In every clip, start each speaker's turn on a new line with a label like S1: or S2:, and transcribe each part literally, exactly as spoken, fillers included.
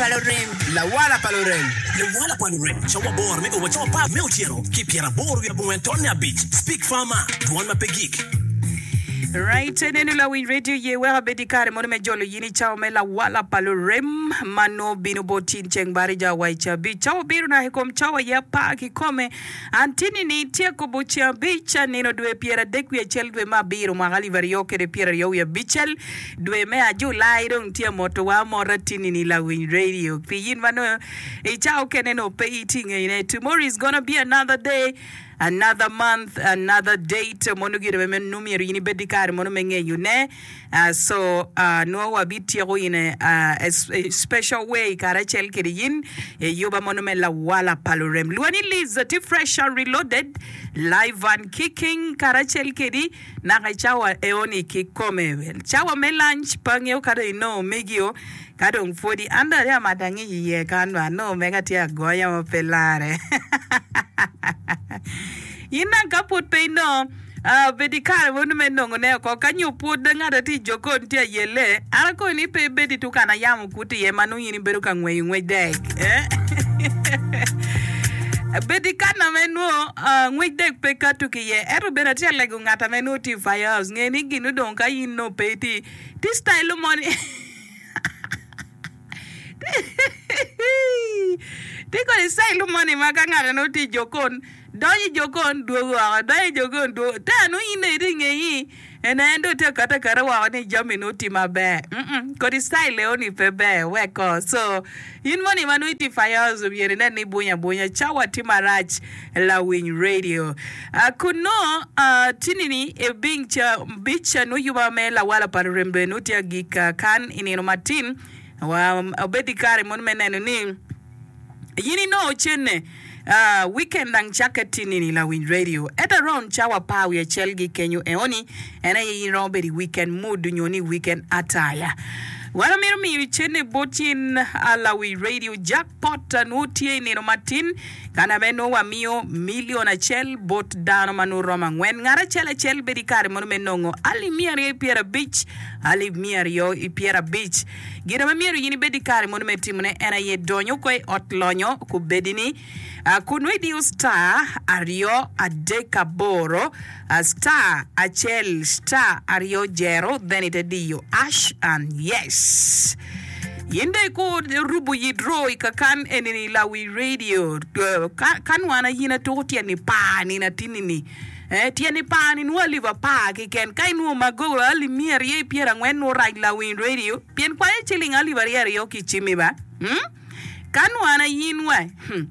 S1: Pa lurem.
S2: Lawala pa lurem.
S3: Lawala pa lurem. Cawa aboro me o wa cawa apar me otyeno ki pyeraboro wiye abongwen tonne abic. Speak Farmer, dwon ma pe gik.
S4: Right, neno lawiny radio ye wek abed i kare mono me jolo yin i cawa me lawala pa lurem ma nongo bino bot in ceng barija wa i cabic. Cawa obiro naka i kom cawa ye apar kikome. An tini ni tye kobo ceng abic nino dwe pyeradek wiye acel dwe me abiro mwaka alip aryo kede pyeraryo wiye abicel dwe me a Julai dong tye amotowa amota tini ni lawiny radio pi yin ma nongo i cawa okene nongo pe itye ngeyone. Tomorrow is gonna be another day, another month, another date mono gire me nongo myero in ibed ki kare mono me ngeyone. Uh, so uh, nongo wabityeko in a, uh, a, a special way karacel kede yin i yuba mono me lawala pa lurem. Lwani Liz tye fresh and reloaded, live and kicking karacel kedi naka i cawa eoni kikome. Cawa me lunch pe angeyo ka dong inongo megio ka dong pwodi an dong atye amato angic iye kan ba anongo mega tye agonya ma pe lare. In dong ka pwod pe inongo Uh, bed i kare mono me nongone oko. Ka nyo pwod ngat a tye i jokon tye ayelle, an akoyo ni pe ibed i tukan a yamo kuto iye ma nongo in ibedo ka ngweyo ngwec dek. Eh? Bed i kana me nwo uh, ngwec dek pe kato ki iye. Ento bene atye alego ngat ame nwo tye i firehouse. Nge ni gin odong ka in nongo pe itye tye style moni. Tye kodi style moni ma ka ngat nongo tye i jokon donyo i jokon dwogo woko, donyo i jokon dwogo. Te nongo in dong itye ngeyi ene en dong tye akata akata woko ni jami nongo tye maber. Mm-mm, kodi style eni pe ber weko. So in moni ma nongo itye i firehouse myero inen ni ibunyo abunya cawa tye marac lawiny radio. Uh, kun nongo uh, tini-ni ebing ca bic nongo yuba me lawala pa lurem bene nongo tye agik uh, kan i nino matin wa obed i kare mono me neno ni in inongo cene uh, weekend dang cakke tini-ni lawiny radio at around cawa apar wiye acel gi kenyo eoni en aye in romo bedo i weekend mood nyo ni weekend attire. Wan amito miyo cene bot in uh, lawiny radio jackpot uh, nongo tye i nino matin kana me nongo wamiyo milion acel bot dano ma nongo romo angwen. Ngat acel acel bedo i kare mono me nongo alip miya aryo i pyerabic alip miya aryo i pyerabic. Gin ma myero in ibed i kare mono me timone en aye donyo ko i ot lonyo kubedi ni uh, kun nongo idiyo star aryo adek aboro uh, star acel star aryo jero then ite diyo hash and yes. In dong ikur rubo yit ro i kakan enini lawi radio uh, ka, kan wan ayin atuko tyen i par nino atinini. Eh, tyen i par ni nwo alip apar kiken. Ka inwo magogo alip miya aryo i pyerangwen nwo rac lawiny radio pien kwanyo ciling alip aryo aryo ki cimi ba. Hmm? Kan wan ayin wa, hmm.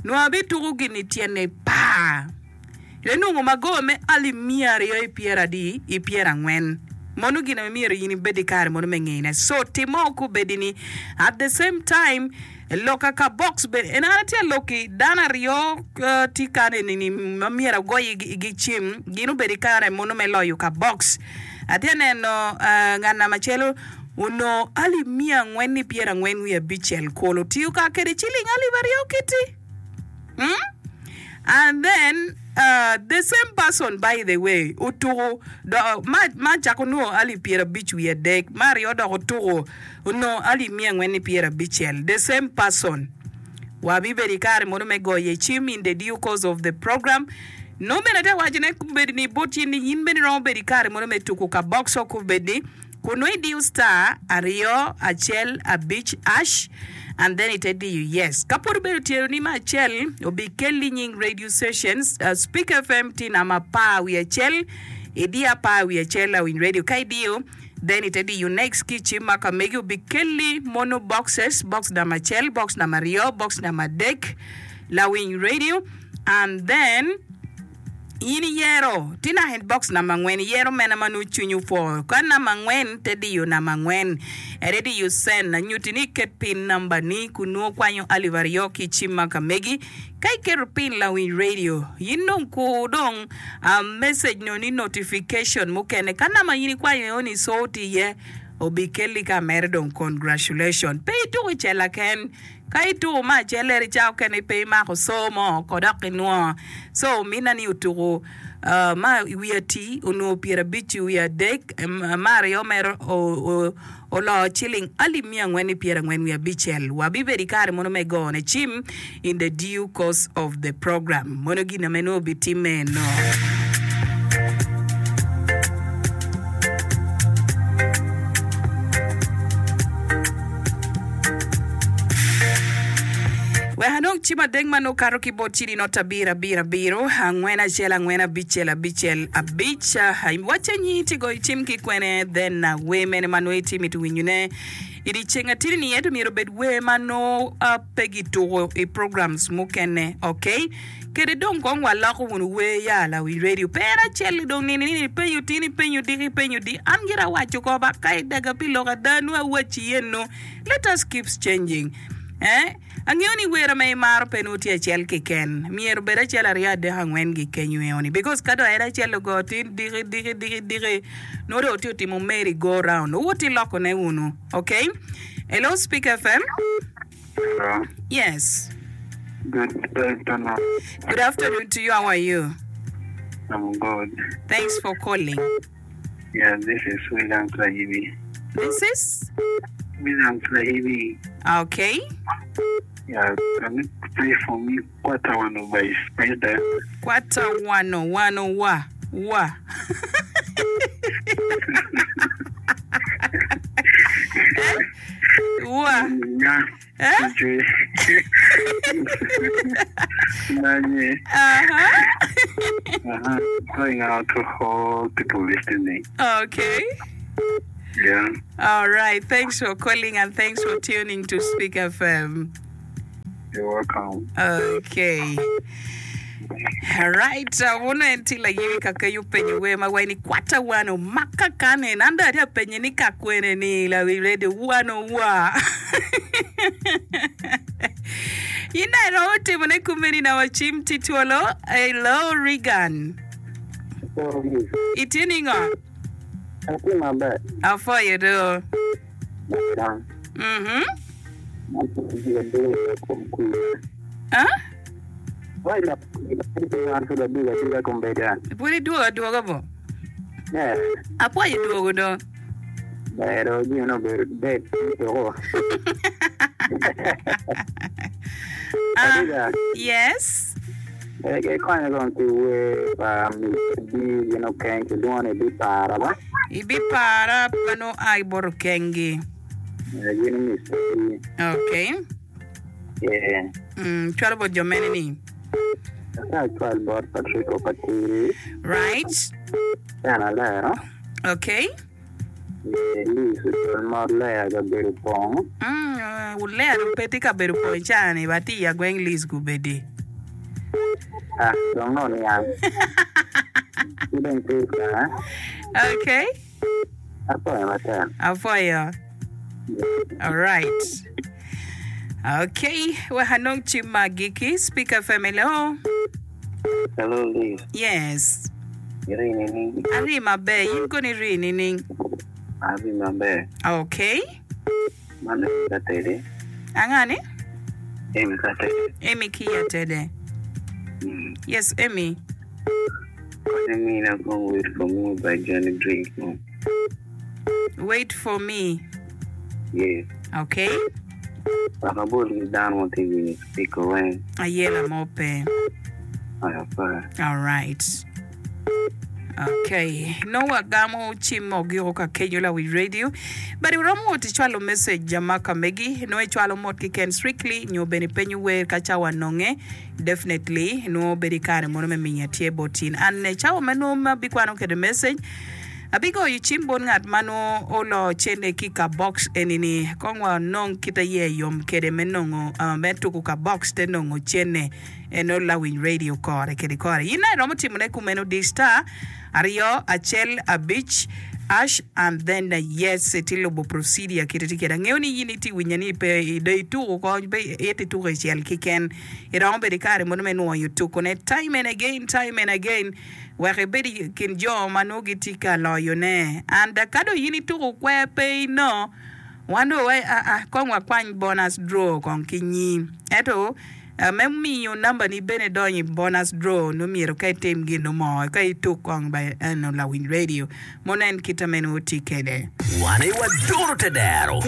S4: Nwo abituko gini tyen i par. Ite nongo magogo me alip miya aryo i pyeradi i pyerangwen. Mono gin ame myero in ibed i kare mono me ngeyone. So timo kubedi ni at the same time loka ka box bene en an atye aloki dano aryo uh, tye kan eni ni ma myero agoyi gi cim gin obedo i kare mono me loyo ka box. Atye neno uh, ngat namba acel onongo alip miya angwen ni pyerangwen wiye abicel kolo tiyo ka kede ciling alip aryo kiti. Hmm? And then uh, the same person by the way otuko do ma ma cako nongo alip pyerabic wiye adek ma aryo dok otuko onongo alip miya angwen ni pyerabicel the same person wabibedo i kare mono me goyo cim in the due course of the program no bene ate wacone kubedi ni bot in ni in bene iromo bedo i kare mono me tuko ka box o kubedi kun nongo idiyo star aryo acel abic hash and then ite diyo yes. Ka pwod obedo tyelo ni me acel obikelli nying radio stations uh, Speak F M tye namba apar wiye acel idiyo apar wiye acel lawiny radio ka idiyo then ite diyo next ki cim ma ka megi obikelli mono boxes box namba acel box namba aryo box namba adek lawiny radio and then in iyero tye naka i box namba angwen iyero mene ma nongo cwinyi opwo ka namba angwen te diyo namba angwen ere diyo send anyuti ni iket pin namba ni kun nongo kwanyo alip aryo ki cim ma ka megi ka iketo pin lawiny radio in dong kur dong um, message no ni notification mukene ka namba in ikwanyo eo ni sort iye obikelli ka mere dong congratulation pe ituko i cela ken ka ituko ma acel eri ca okene pe imako so mo kodok inwo so mina ni otuko Uh, ma wiye ati onongo pyerabic wiye adek, ma aryo mere oloo ciling alip miya angwen i pyerangwen wiye abicel. Wabibedo i kare mono me gone cim in the due course of the program. Mono gin ame nongo obitimme eno. Wek anong cim adek ma nongo kato ki bot cili not abiro abiro abiro angwen acel angwen abicel abicel abic. Wacce nyi ti goyo cim ki kwene then wer mene ma nongo itye mito winyone i dyeceng atidi ni ento myero obed wer ma nongo pe gituko i programs mukene ok kede dong kong waloko wunu wer ya lawi radio pe en acel dong nini nini ipenyo tin ipenyo diki ipenyo di an gira awaco ko ba ka idaga pi lok ada nongo awaci eno let us keeps changing eh Angeyo ni wera ma imaro pe nongo tye acel keken. Myero obed acel, aryo, adek, angwen gi kenyo eo ni. Because ka dong en acel ogo tin diki, diki, diki, diki, nongo dong wutye otimo merry go round. Wuwot iloko ne wunu. Okay? Hello, Speak F M.
S1: Hello.
S4: Yes.
S1: Good afternoon.
S4: Good afternoon to you. How are you?
S1: I'm good.
S4: Thanks for calling.
S1: Yeah, this is William Lahibi.
S4: This is?
S1: William Lahibi.
S4: Okay.
S1: Yeah, can you play for me Kwata Wano by Spider?
S4: Kwata Wano, Wano wa, wa. Eh? Wa.
S1: Yeah.
S4: Eh?
S1: Nanye.
S4: Uh-huh.
S1: Uh-huh. Going out to all people listening.
S4: Okay.
S1: Yeah.
S4: All right. Thanks for calling and thanks for tuning to Speak F M.
S1: You're welcome.
S4: Okay. All right. Uh, Wuno en tye layebi ka kenyo penyo wer ma wai ni kwata wano maka kane. An dong atye ka penye ni ka kwene ni lawi radio wano wa. In dong iromo timo ne kumeni na wacim ti twolo. Hello Regan. Itye ningo?
S1: Atye maber.
S4: Apwoyo do.
S1: Maber.
S4: Mhm.
S1: Ah?
S4: Pud idwogo adwoga bo? Apwoyo dwogo do. Ah, yes. Ibipara pa nongo a ibot okengi. Okay. Mm, cwalo bot jo mene ni? Right. Okay. Mm, wulero pe tye ka bedo pong i caa-ni, ba tye i agweng Liz gubedi. Okay. Apwoyo. Alright. Okay, wek anong cim ma agikki. Speak F M, hello.
S1: Hello Liz.
S4: Yes.
S1: Iri nining?
S4: Ari maber. In kono iri nining?
S1: Ari maber.
S4: Okay.
S1: Man Amy Katede.
S4: Angani?
S1: Amy Katede.
S4: Amy ki Atede.
S1: Mm.
S4: Yes, Amy.
S1: Konyo mina kong Wait For Me by Johnny Drink.
S4: Wait For Me.
S1: Yes.
S4: Okay.
S1: Wek abol ki dano ma tye winyo speaker weng.
S4: Ayela mo pe.
S1: Aya pa.
S4: All right. Okay. No wagamo cim ogiko ka kenyo la wi radio. But iromo wot icwalo message ma ka megi. No icwalo mot kiken strictly nyo bene penyo wer ka cawa nonge. Definitely no bedo i kare mono me minya tye bot in. An cawa ma nongo ma bikwano kede message. Abigoyo cim bot ngat ma nongo olo cene ki ka box eni-ni. Kong wanong kit aye yom kede me nongo me tuku ka box te nongo cene eno lawiny radio kore kede kore. In aye iromo timone kumeno di star aryo acel abic hash and then yes iti lubo procedure kit iti kede. Angeyo ni in iti winyo ni pe do ituku ko pe iti tuku icel kiken. Iromo bedo i kare mono me nwoyo tukune time and again time and again wek ibed i kin jo ma nongo gitye ka loyone. And ka dong in ituko kwer pe ino, wan dong wai aa kong wakwany bonus draw kong ki nyi. Ento Me miyo nambani bene donyo i bonus draw nongo myero ka itim gin mo ka ituk kong ba eno lawiny radio mo nen kite meno tye kwede.
S3: Wan aye wadoro te dero.